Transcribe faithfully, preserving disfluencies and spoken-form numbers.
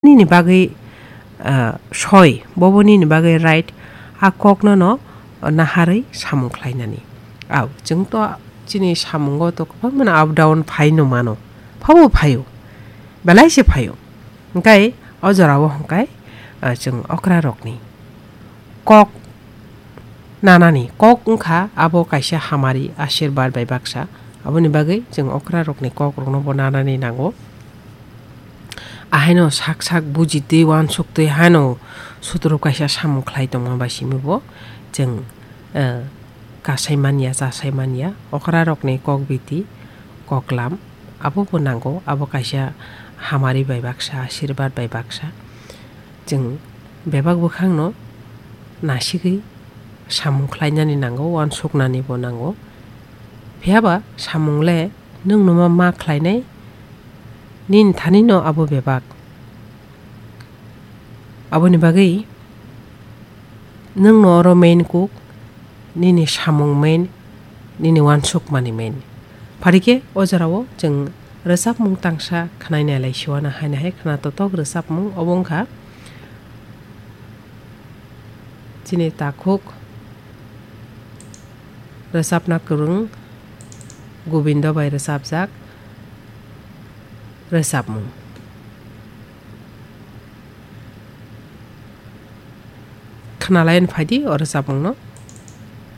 nini bagwi, ah, soi, bobo nini bagwi right, a kokno no naharwi samung khlainani. Au, chwng to chini samungo to kwbangmano up down phaino mano, phabo phaio, belai se phaio. Hwnkhe o jorao hwnkhe, ah, chwng okra rokni kok nanani kok wngkha abo kaisa hamari asirbar bai baksa. Aboni bagwi chwng okra rokni kok rokno bo nanani nango. Ahaino sak sak bujitwi uansuk twi haino sutro kaisa samung khlai tongma bai simi bo chwng, eh, kasai manya, chasai manya. Okra rokni kok biti, koklam abo bo nango. Abo kaisa hamari bai baksa, asirbar bai baksa. Chwng bebak bwkhakno nasigwi samung khlainani nango, uansuknanibo nango. Phiya ba samung le nwng no ma, ma khlainai, nini thani no abo bebak. Aboni bagwi nwng no oro main kuk, nini samung main, nini uansukmani main. Phari khe o jorao chwng rwchapmung tangsa khwnai nai lai siwana haino hai khwna totok rwchapmung obo wngkha chini takhuk rwchapna kwrwng Gobindo bai rwchapjak rwchapmung. Khwnalaiwi phaidi o rwchapmungno.